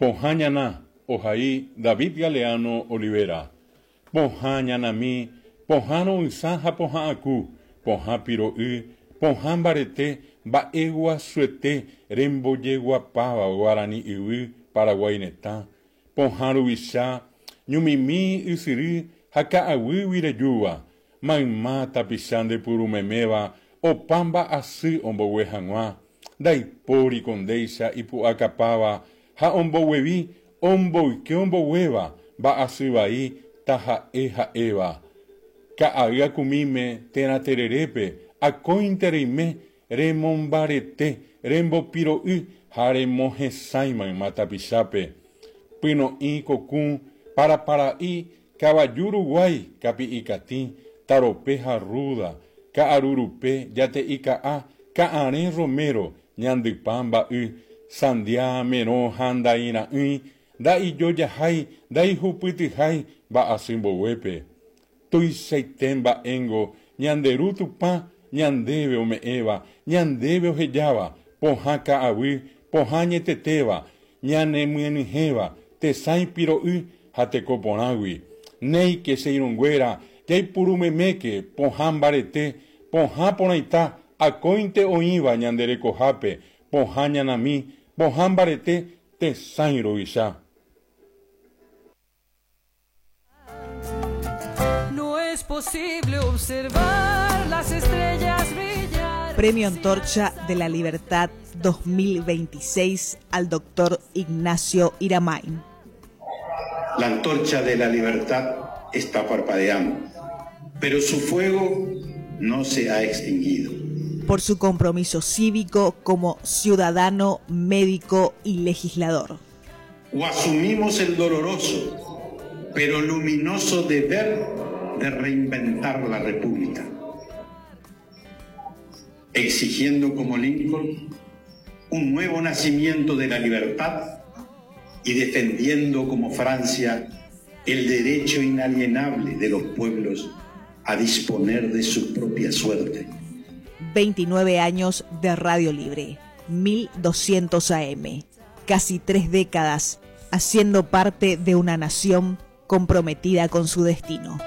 Pohã ñana, ohai David Galeano Olivera. Pohã ñanami, pohã ro'ysã ha pohã aku, pohã piro'y, pohã mbarete, mba'e guasuete rembojeguapáva guarani yvy Paraguái retã, pohã ruvicha, ñumimi ysyry ha ka'aguýgui rejúva, mayma tapicha ndepurumeméva opa mba'asy ombogue hag̃ua, ndaipóri ko ndéicha ipu'akapáva ha omboguevi omboyke omboguéva mba'asy vai taha'e ha'éva. Ka'ay akumíme térã tererépe akóinte reime remombarete, rembopiro'y ha remohesãi mayma tapichápe. Pyno'ĩ kokũ, parapara'i, kavaju ruguái, kapi'i katĩ, tarope ha rrúda, ka'aru rupe, jate'i ka'a, ka'arẽ romero, ñandypa mba'y, sandia, merõ ha ndaira'ỹi, nda'ijojahái, ndaihupytyhái mba'asy mboguépe. Tuichaite mba'éngo ñande Ru Tupã ñandéve ome'ẽva, ñandéve ohejáva, pohã ka'aguy, pohã añetetéva, ñanemyenyhẽva tesãi piro'y ha teko porãgui. Néike che irũnguéra, jaipuru meméke pohã mbarete, pohã porãita akóinte oĩva ñande rekohápe, pohã ñanami, pohã mbarete tesãi ruvicha. No es posible observar las estrellas brillar. Premio Antorcha de la Libertad 2026 al doctor Ignacio Iramain. La antorcha de la libertad está parpadeando, pero su fuego no se ha extinguido. Por su compromiso cívico como ciudadano, médico y legislador. O asumimos el doloroso, pero luminoso deber de reinventar la República, exigiendo como Lincoln un nuevo nacimiento de la libertad y defendiendo como Francia el derecho inalienable de los pueblos a disponer de su propia suerte. 29 años de Radio Libre, 1200 AM, casi tres décadas haciendo parte de una nación comprometida con su destino.